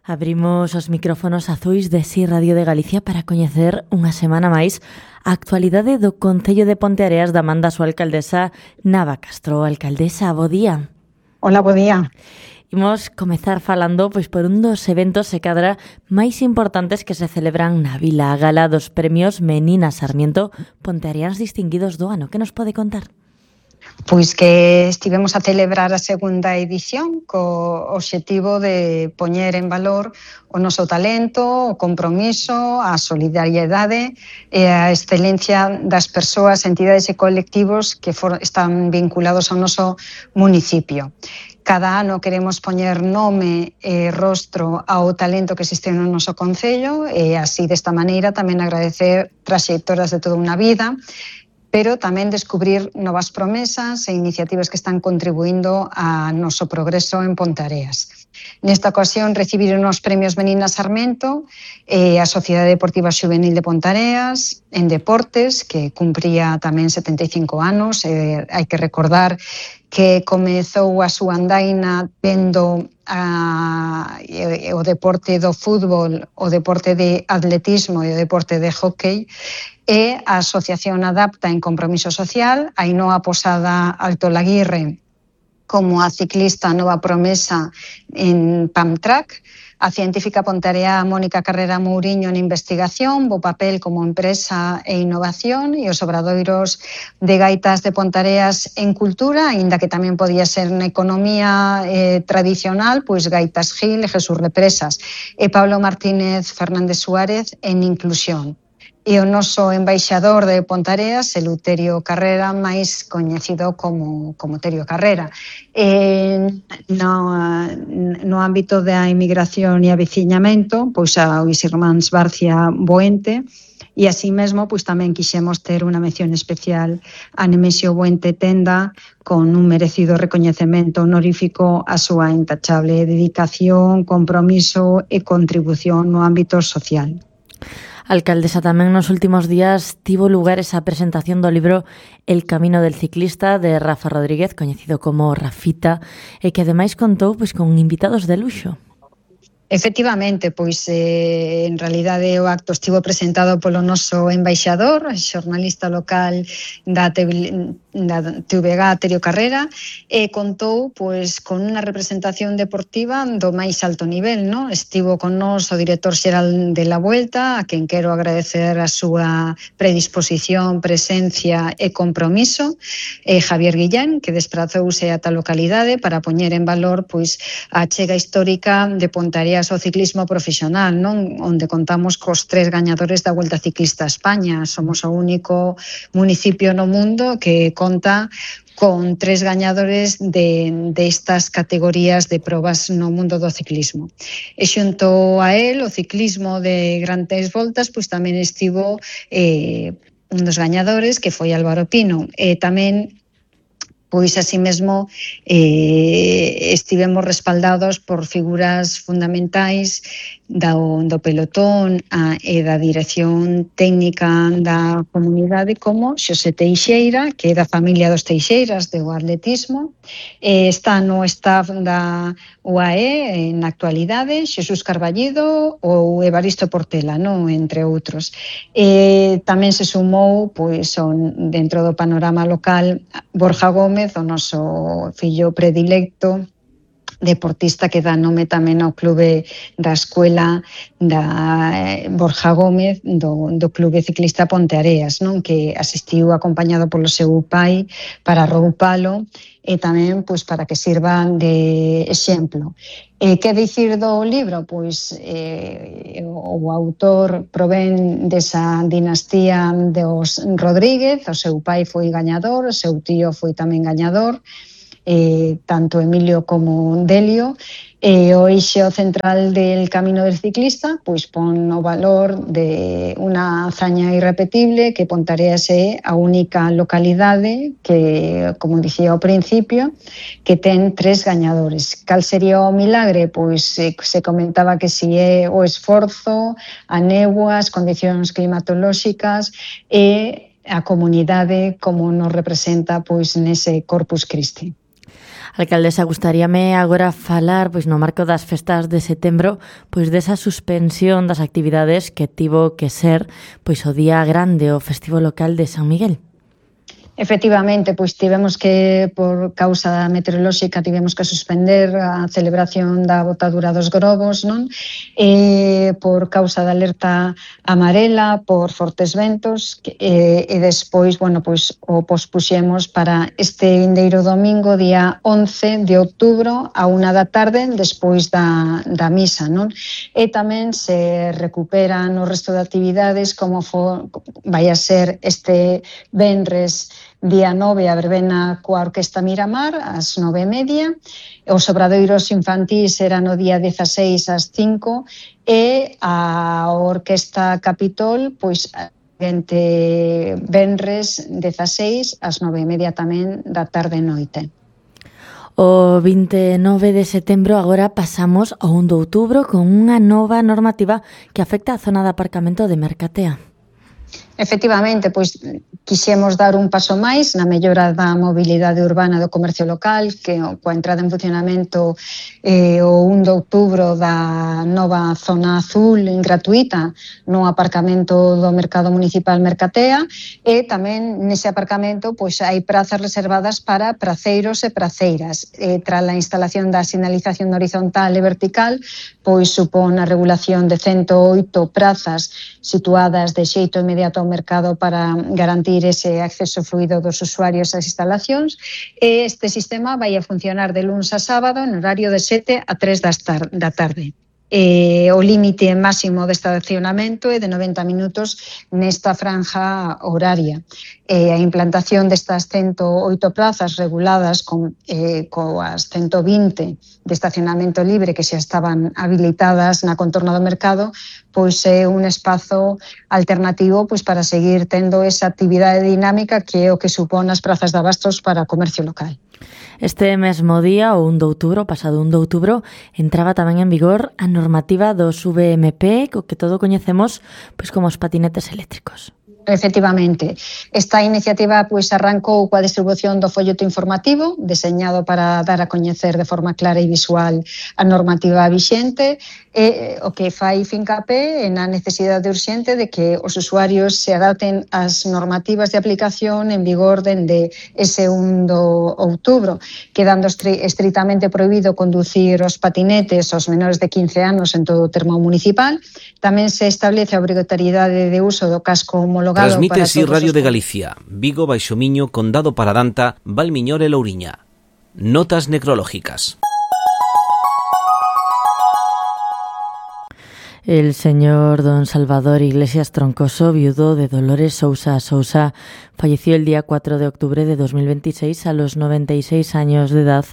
Abrimos os micrófonos azuis de Si Radio de Galicia para coñecer unha semana máis a actualidade do Concello de Ponteareas da man da súa alcaldesa Nava Castro. Alcaldesa, bo día. Hola, bo día. Imos comezar falando por un dos eventos se cadra máis importantes que se celebran na vila, a gala dos premios Menina Sarmiento Ponteareans distinguidos do ano. Que nos pode contar? Pois que estivemos a celebrar a segunda edición co obxectivo de poñer en valor o noso talento, o compromiso, a solidariedade e a excelencia das persoas, entidades e colectivos que están vinculados ao noso municipio. Cada ano queremos poñer nome e rostro ao talento que existe no noso concello e así desta maneira tamén agradecer traxectorias de toda unha vida, pero tamén descubrir novas promesas e iniciativas que están contribuindo a noso progreso en Ponteareas. Nesta ocasión recibiron os premios Menina Sarmiento a Sociedade Deportiva Xuvenil de Ponteareas en Deportes, que cumpría tamén 75 anos. Hai que recordar que comezou a súa andaina vendo o deporte do fútbol, o deporte de atletismo e o deporte de hóquei, e a Asociación Adapta en Compromiso Social, Ainhoa Posada Alto Laguirre como a ciclista nova promesa en Pamtrack, a científica pontarea Mónica Carrera Mouriño en investigación, bo papel como empresa e innovación, e os obradoiros de gaitas de Ponteareas en cultura, aínda que tamén podía ser na economía tradicional, pois Gaitas Gil e Jesús Represas, e Pablo Martínez Fernández Suárez en inclusión. E o noso embaixador de Ponteareas, Eleuterio Carrera, máis coñecido como Terio Carrera. No ámbito da inmigración e aveciñamento, pois a os irmáns Barcia Boente, e así mesmo pois tamén quixemos ter unha mención especial a Nemesio Boente Tenda con un merecido recoñecemento honorífico a súa intachable dedicación, compromiso e contribución no ámbito social. Alcaldesa, tamén nos últimos días tivo lugar esa presentación do libro El camino del ciclista de Rafa Rodríguez, coñecido como Rafita, e que ademais contou con invitados de luxo. Efectivamente, pois en realidade o acto estivo presentado polo noso embaixador, xornalista local da TVG, Terio Carrera, e contou pois con unha representación deportiva do máis alto nivel, non? Estivo con nós o director xeral de La Vuelta, a quen quero agradecer a súa predisposición, presencia e compromiso, Javier Guillén, que desprazouse a tal localidade para poñer en valor pois a achega histórica de Ponteareas ao ciclismo profesional, non? Onde contamos cos 3 gañadores da Vuelta Ciclista a España. Somos o único municipio no mundo que conta con 3 gañadores de estas categorías de probas no mundo do ciclismo. E xunto a él, o ciclismo de grandes voltas, pois tamén estivo un dos gañadores, que foi Álvaro Pino, e tamén pois así mesmo estivemos respaldados por figuras fundamentais do pelotón e da dirección técnica da comunidade, como Xosé Teixeira, que é da familia dos Teixeiras, do atletismo, está no staff da UAE na actualidade, Xesús Carballido ou Evaristo Portela, non? Entre outros. Tamén se sumou dentro do panorama local Borja Gómez, o noso fillo predilecto, deportista que dá nome tamén ao clube da escuela da Borja Gómez do Clube Ciclista Ponteareas, non? Que asistiu acompañado polo seu pai para roupalo e tamén pois para que sirva de exemplo. Que dicir do libro? Pois o autor provén desa dinastía dos Rodríguez, o seu pai foi gañador, o seu tío foi tamén gañador, tanto Emilio como Delio, e o eixo central del camino del ciclista pois pon o valor de unha hazaña irrepetible, que Ponteareas é a única localidade que, como dicía ao principio, que ten 3 gañadores. Cal sería o milagre? Pois se comentaba que si é o esforzo, a néboa, as condicións climatolóxicas e a comunidade como nos representa pois nese Corpus Christi. Alcaldesa, gustaríame agora falar, pois no marco das festas de setembro, pois desa suspensión das actividades que tivo que ser pois o día grande, o festivo local de San Miguel. Efectivamente, pois tivemos que, por causa meteorolóxica, tivemos que suspender a celebración da botadura dos grobos, non? Por causa da alerta amarela, por fortes ventos, e despois, bueno, pois o pospuxemos para este vindeiro domingo, día 11 de outubro, a 1 da tarde, despois da misa, non? E tamén se recuperan o resto de actividades, como vai a ser este venres día 9 a verbena coa Orquesta Miramar ás 9:30, os obradoiros infantís era no día 16 ás 5 e a Orquesta Capitol pois entre venres 16 ás 9:30 tamén da tarde e noite. O 29 de setembro agora pasamos ao 1 de outubro con unha nova normativa que afecta a zona de aparcamento de Mercatea. Efectivamente, pois quixemos dar un paso máis na mellora da mobilidade urbana do comercio local, que coa entrada en funcionamento o 1 de outubro da nova zona azul gratuita no aparcamento do Mercado Municipal Mercatea, e tamén nese aparcamento pois hai prazas reservadas para praceiros e praceiras. Tras a instalación da sinalización horizontal e vertical, pois supón a regulación de 108 prazas situadas de xeito inmediato ao mercado para garantir ese acceso fluido dos usuarios ás instalacións, e este sistema vai a funcionar de luns a sábado en horario de 7 a 3 da tarde. O límite máximo de estacionamento é de 90 minutos nesta franja horaria. A implantación destas 108 plazas reguladas coas 120 de estacionamento libre que xa estaban habilitadas na contorna do mercado, pois é un espazo alternativo pois para seguir tendo esa actividade dinámica que é o que supón as prazas de abastos para o comercio local. Este mesmo día, o 1 de outubro, pasado 1 de outubro, entraba tamén en vigor a normativa dos VMP, co que todo coñecemos pois como os patinetes eléctricos. Efectivamente, esta iniciativa pois arrancou coa distribución do folleto informativo deseñado para dar a coñecer de forma clara e visual a normativa vixente, e o que fai fincapé na necesidade urxente de que os usuarios se adapten ás normativas de aplicación en vigor dende ese 1 de outubro, quedando estritamente prohibido conducir os patinetes aos menores de 15 anos en todo o termo municipal. Tamén se establece a obrigatoriedade de uso do casco homologado. Transmite así Radio de Galicia, Vigo, Baixo Miño, Condado Paradanta, Valmiñor e Louriña. Notas necrológicas. El señor don Salvador Iglesias Troncoso, viudo de Dolores Sousa Sousa, falleció el día 4 de octubre de 2026 a los 96 años de edad,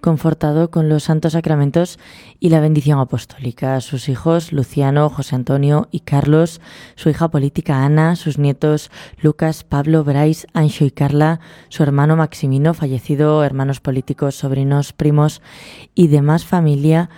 confortado con los santos sacramentos y la bendición apostólica. Sus hijos, Luciano, José Antonio y Carlos, su hija política Ana, sus nietos Lucas, Pablo, Brais, Anxo y Carla, su hermano Maximino, fallecido, hermanos políticos, sobrinos, primos y demás familia,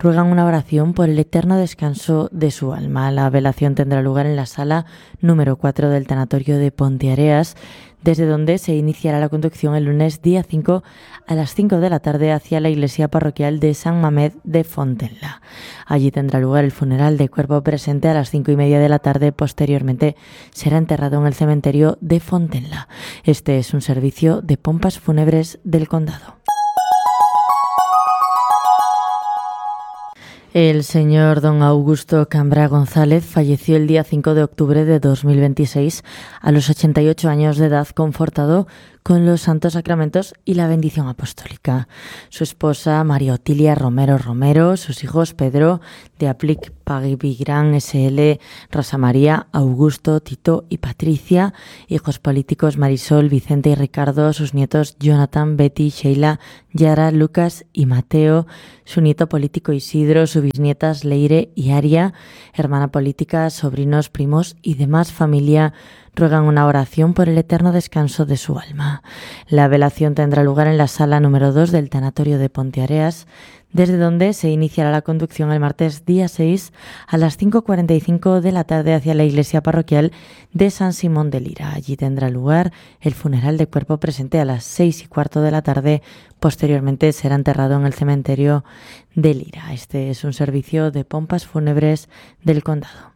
ruegan una oración por el eterno descanso de su alma. La velación tendrá lugar en la sala número 4 del tanatorio de Ponteareas, desde donde se iniciará la conducción el lunes día 5 a las 5 de la tarde hacia la iglesia parroquial de San Mamed de Fontenla. Allí tendrá lugar el funeral de cuerpo presente a las 5:30 de la tarde. Posteriormente será enterrado en el cementerio de Fontenla. Este es un servicio de pompas fúnebres del condado. El señor don Augusto Cambra González falleció el día 5 de octubre de 2026 a los 88 años de edad, confortado con los santos sacramentos y la bendición apostólica. Su esposa María Otilia Romero Romero, sus hijos Pedro de Aplic Pagibigran SL, Rosa María, Augusto, Tito y Patricia, hijos políticos Marisol, Vicente y Ricardo, sus nietos Jonathan, Betty, Sheila, Yara, Lucas y Mateo, su nieto político Isidro, sus bisnietas Leire y Aria, hermana política, sobrinos, primos y demás familia, ruegan una oración por el eterno descanso de su alma. La velación tendrá lugar en la sala número 2 del tanatorio de Ponteareas, desde donde se iniciará la conducción el martes día 6 a las 5:45 de la tarde hacia la iglesia parroquial de San Simón de Lira. Allí tendrá lugar el funeral de cuerpo presente a las 6:15 de la tarde. Posteriormente será enterrado en el cementerio de Lira. Este es un servicio de pompas fúnebres del condado.